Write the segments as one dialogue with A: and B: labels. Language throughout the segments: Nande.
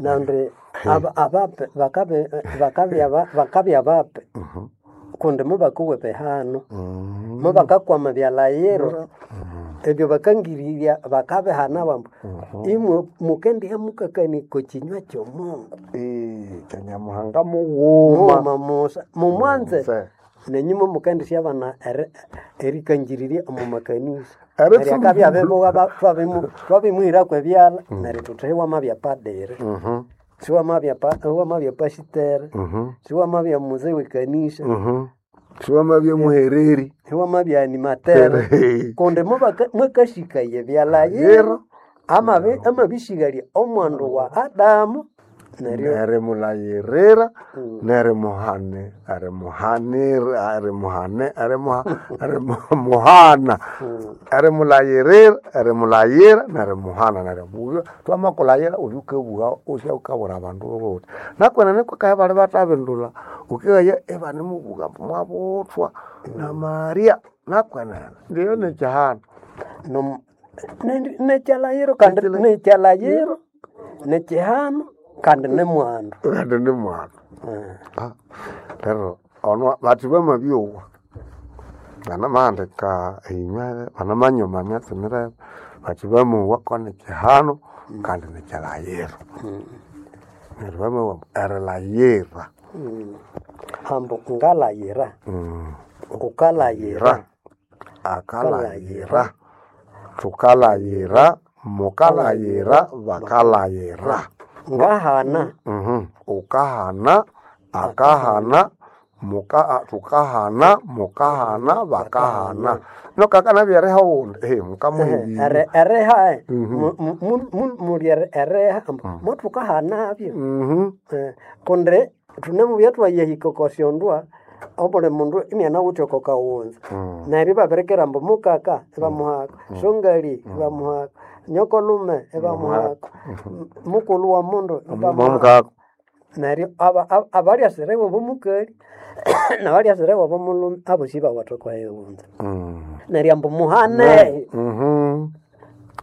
A: Nandi abape bakabya bape kundi mubakowa ebihano, mubakakwama ebyalayiro, ebyo bakangirirya bakabihana bambu imwe mukendiha mukakania oko kinywa ky'omungu.
B: Kya Nyamuhanga mughuma.
A: Mughuma musa mumwanze nenyuma mukendisyabana erikangirirya omu makanisa. Neryo akabya abibuwa twabimuhirako ebyalha neryo thuthi iwamabya padiri, siwamabya pasiteri, siwamabya muzee w'ekanisa,
B: Siwamabya muhereri.
A: Iwamabya animateri kundi mwakasikaya ebyalayiro amabisighalya omwandu wa Adamu neryo
B: Nerimulayirira, nerimuhane, erimuhanira, erimuhane, erimuhana, erimulayirira, erimulayira, nerimuhana neryo twamakulayira oyo ukabugha usyawukabwira abandu wuthi. Nakwenene kwakaye bali bathabindulha wukeghaya ibanemubugha ambu mwabuthwa na Maria nakwenene ndiyo nikyihano.
A: Nekyalayiro kandi nekyalayiro, nekyihano kandi nimwandu.
B: Kandi nimwandu. Neryo ono bathi bamabyowa banamahandika eyinywa banamanyoma emyatsi mirebe bathi bamowa konikyihano kandi nikyilayiro. Neryo bamowa ambu erilayira.
A: Ambu ngalayira, wukalayira,
B: Akalayira, thukalayira, mukalayira, bakalayira.
A: Ngahana.
B: Wukahana, akahana, thukahana, mukahana, bakahana. Nokakana byeriha owundi mukamuha ebindu.
A: Eriha muli eriha ambu mothukahanabyo kundi thunemubya thwayahika oko syondwa obuli mundu inianawithe oko kawunza neryo ibabirikira ambu mukaka ibamuhako, songali ibamuhako, nyokolume ibamuhako, mukulhu wa mundu ibamuhako. Neryo abalyasira iwabo mukali nabalyasira iwabo mulhume abosi ibawatha oko ewunza. Neryo ambu muhane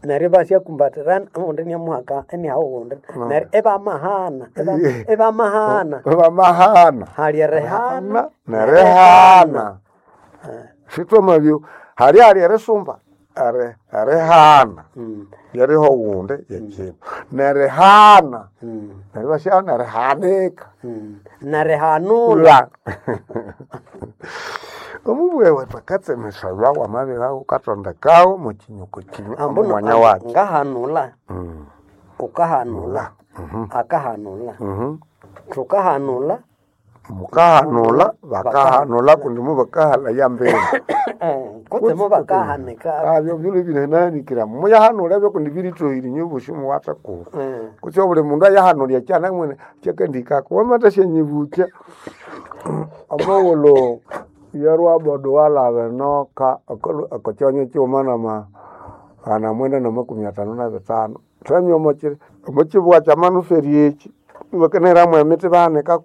A: neryo ibasyakumbatirana ogundi iniamuhaka iniaha ogundi neryo ibamahana ibamahana.
B: Ibamahana.
A: Hali erihana
B: nerihana. Sithwamabyo hali hali erisumba erihana lyeriha owundi yekyindu nerihana neryo ibasya nerihanika.
A: Nerihanulha.
B: Omubughe wethu akatsemesaya wamabirya wukathondekawo mwekinyuku kinywa
A: Ambu
B: omwanya wakyo.
A: Ngahanulha, wukahanulha, akahanulha, thukahanulha.
B: Mukahanulha, bakahanulha kundi mubakahalaya mbere.
A: Kutse mubakahanika.
B: Abyo byulwe binananikira muyahanulha ebyo kundi birithohire inywe bosi muwathekuru. Kutse obuli mundu ayahanulya ekyanamwene kyakandihikako wamathasyanyibucha omughulhu yerwabodo walaba enoka okokyanya kyighuma namaghana mwenda namakumi athanu nabithanu thwamya omokyibugha kyamanuferi ekyi ibakanahiramu emithi ibahanika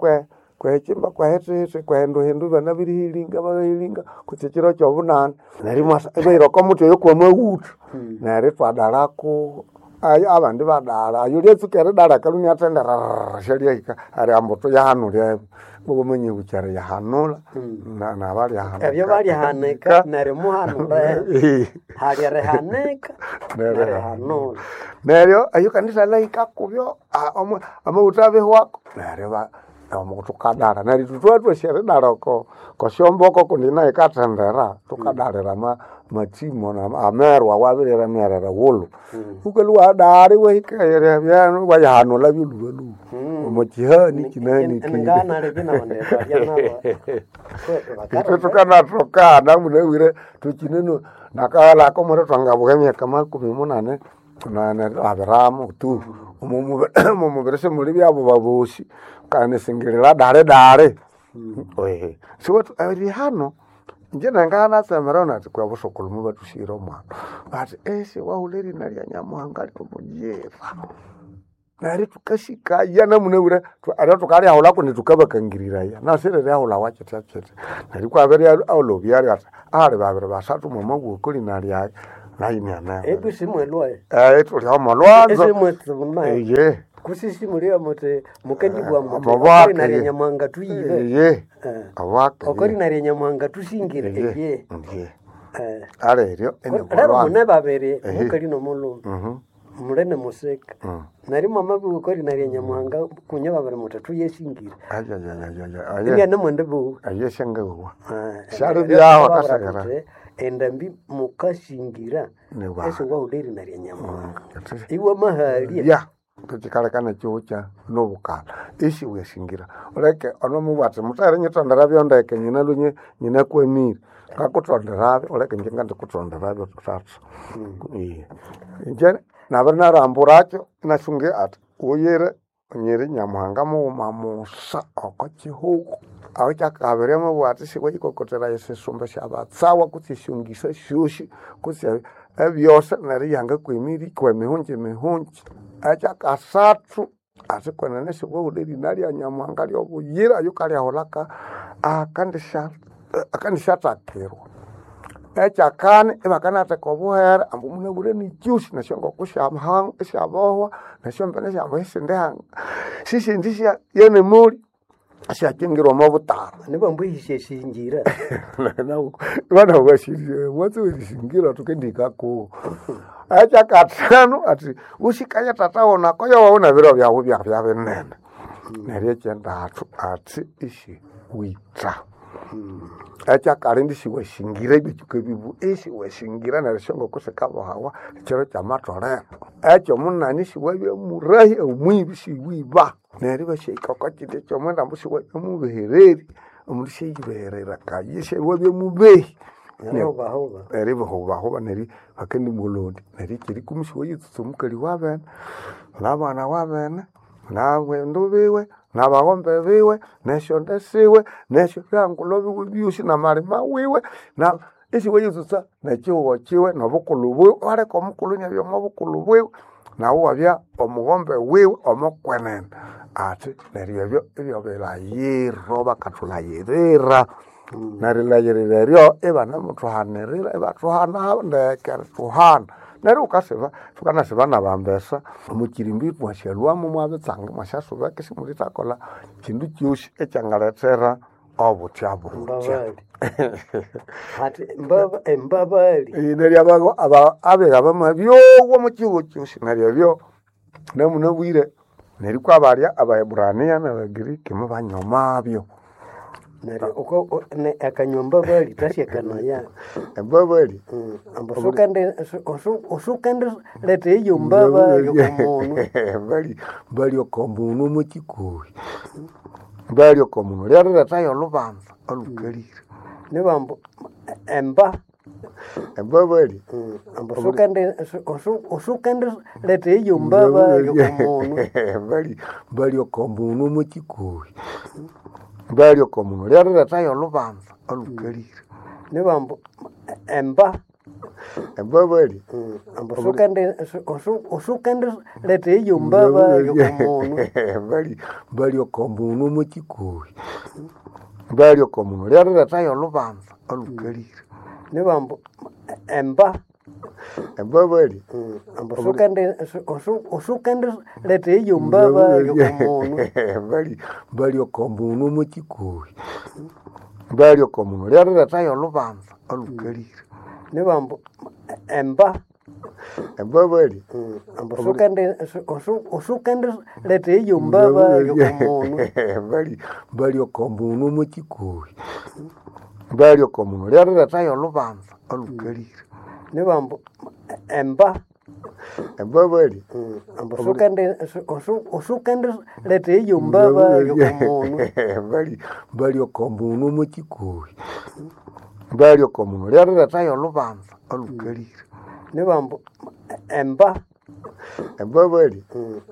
B: kwehikimba kwehithithi kwehinduhindu ibanabirihilinga babihilinga kutse ekyiro kyobunani neryo imwasa ibahira okomuthi oyo kwamaghutha neryo ithwadalhaku abandi ibadalha oyo lyatsuka eridalha akalhwa iniathenda syalyahika neryo ambu thuyahanulha ebyo ibabamanyibukya eriyahanulha nabalyahanika.
A: Ebyo balyahanika neryo muhanulha hali erihanika nerihanulha.
B: Neryo eyo kanisa lyahika kubyo amaghutha abihwako neryo thukadalha neryo ithwe thwathwasi eridalha okosyomboko kundi nayo yikathendera thukadalira amatsimo amerwa awabirira myerere ghulhu wukalhwa iwadalha iwahika ebyano iwayahanulha byolhubalhuba omo kyihani kyinahanikire.
A: Nganalibya nabandu balya
B: Ithwe thukanathoka namunabwire thukyineno nakaghalha omuli thwangabuka emyaka makumi munani abiramu tu omomubiri simuli byabuba bosi wukanisingirira dali dali. Siwathu erihano inje nanganatsemera nathi kwihi obusukulhu mubathusighira omwana bathi siwahulha erina rya Nyamuhanga lyomugyira neryo thukasikaya namunabwire neryo thukalyahulha kundi thukabakangiriraya nasiriryahulhawa kyithyakyithya neryo ikwabirya olhobyalyo athi ahali babiri basathu mwamabugha okolina lyayi. Nayi nianeho.
A: Ebu simwelwaye.
B: Tuli omo lwanzo.
A: Esimwetsuma.
B: Iye.
A: Kusisi mulio muti mukendibwa muti
B: Amabwaka,
A: okori narya
B: ye.
A: Nyamuhanga tuyibe.
B: Iye.
A: Eh.
B: Abwaka.
A: Okori narya Nyamuhanga tusingire.
B: Iye.
A: Iye.
B: Iye.
A: Eh.
B: Aleryo
A: Lero mune babiri
B: Ehe.
A: mukali nomulume.
B: Mhm.
A: Mulene museka.
B: Mm.
A: Nari mwamabi okori narya Nyamuhanga kunye babiri muti tuyesingire.
B: Ayayayayaya.
A: Ibya namwende bu.
B: Aye shangawa.
A: Eh,
B: Shali
A: lero
B: byaho
A: babura
B: akasegera.
A: kuti, Endambi mukasingira
B: Niwa.
A: ese wahuleri narya Nyamuhanga. Iwe mahalia.
B: Ya. Tuchikalekana chiucha nobukala isi wesingira uleke onomubwati mutare nyitondera ndeke nyina lunye nyina kwemire ngakutonderavyo uleke nje ngandikutonderavyo tatu. Iye nje nabiri naramburakyo nasunge ati uyire nyiri Nyamuhanga mughuma musa oko chihugo aho kyakabiri amabwati siwayikokotera esisumba syabatsawa kutse esyongisa syosi kutse ebyose neryo yangakwemiri kwemihunji mihunji. Ekyakasathu ati kwenene siwahulha erina lya Nyamuhanga lyobuyira yukalyahulha akandisyathakirwa. Ekyakani ibakanatheka obuhere ambu munabwire nikyosi nesyongoko syabohwa nesyombene syambu isindi sisindi yenemuli syakyingirwa omo butara.
A: Nibambu ihisya singira.
B: Vanawashirye watsi werisingira tukendikako. Ekyakathanu ati usikaya tata wonako yowa biro byawu byabya binene. Neryo ekyendathu ati isi witha. Ekyakalindi siwashingira ebitsuka ebibu isiwashingira neryo esyongoko sikabohawa ekiro kyamatholero. Ekyomunani siwabya murahi omwibi siwiba. Neryo ibasyahika oko kindi ekyomwenda ambu siwabya mubehereri omundu syayibeherera kayi siwabya mubehi.
A: Neryo
B: Eribahubahuba neryo bakendimulondya neryo ekyerikumi siwayitsutsa omukali wabene nabana wabene nabandu biwe nabaghombe biwe nesyonde siwe nesyobyangulho biwe byosi namalima wiwe na isiwayitsutsa nekyihugho kyiwe nobukulhu bwiwe iwaleka omukulhu inabya omo bukulhu bwiwe nawu iwabya omughombe wiwe omokwenene. Ati neryo ebyo ibyabilayiro bakathulhayirira. Nerilhayirira eryo ibanemuthuhanirira ibathuhana ndeke erithuhana. Neryo wukasiba thukanasiba nabambesa omukyirimbi mwasyalhwamu mwabitsanga mwasyasubeka isimulithakolha kyindu kyosi ekyangalethera obuthya buthya.
A: Mbabali. Ati mbaba embabali.
B: Neryo abiga bamabyowa omukyihugho kyosi neryo ebyo namunabwire neryo kwabalya Abaeburania nabagiriki mubanyomabyo.
A: Neryo uko ne akanywa mbabali tasyakanaya.
B: Embabali
A: Ambu usukende leta eyo mbabali okomundu.
B: Mbali mbali okomundu omukikuhi. Mbali okomundu lyarilhethayo olhubanza olhukalire.
A: Nibambu emba
B: Embabali
A: ambu usukende leta eyo mbabali okomundu.
B: Mbali mbali okomundu omukikuhi. Mbali okomundu lyarilhethayo olhubanza olhukalire.
A: Nibambu emba
B: Embabali
A: ambu usukende leta eyo mbabali okomundu.
B: Mbali mbali okomundu omukikuhi. Mbali okomundu lyarilhethayo olhubanza olhukalire.
A: Nibambu emba
B: Embabali
A: ambu usukende leta eyo mbabali okomundu.
B: Mbali mbali okomundu omukikuhi. Mbali okomundu lyarilhethayo olhubanza olhukalire.
A: Nibambu emba
B: Embabali
A: ambu usukende leta eyo mbabali okomundu.
B: Mbali mbali okomundu omukikuhi. Mbali okomundu lyarilhethayo olhubanza olhukalire.
A: Nibambu emba
B: Embabali
A: ambu usukende leta eyo mbabali okomundu.
B: Mbali mbali okomundu omukikuhi. Mbali okomundu lyarilhethayo olhubanza olhukalire.
A: Nibambu emba
B: Embabali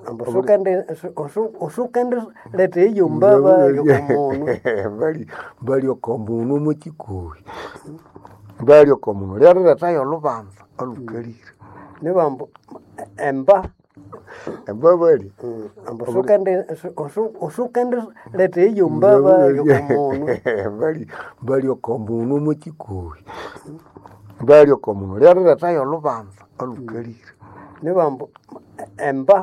A: ambu usukende leta eyo mbabali okomundu.
B: Mbali mbali okomundu omukikuhi. Mbali okomundu lyarilhethayo olhubanza olhukalire.
A: Nibambu emba
B: Embabali
A: ambu usukende leta eyo mbabali okomundu.
B: Mbali mbali okomundu omukikuhi. Mbalyo oko mundu lyariletayo olubanza olukalire.
A: Nibambu emba.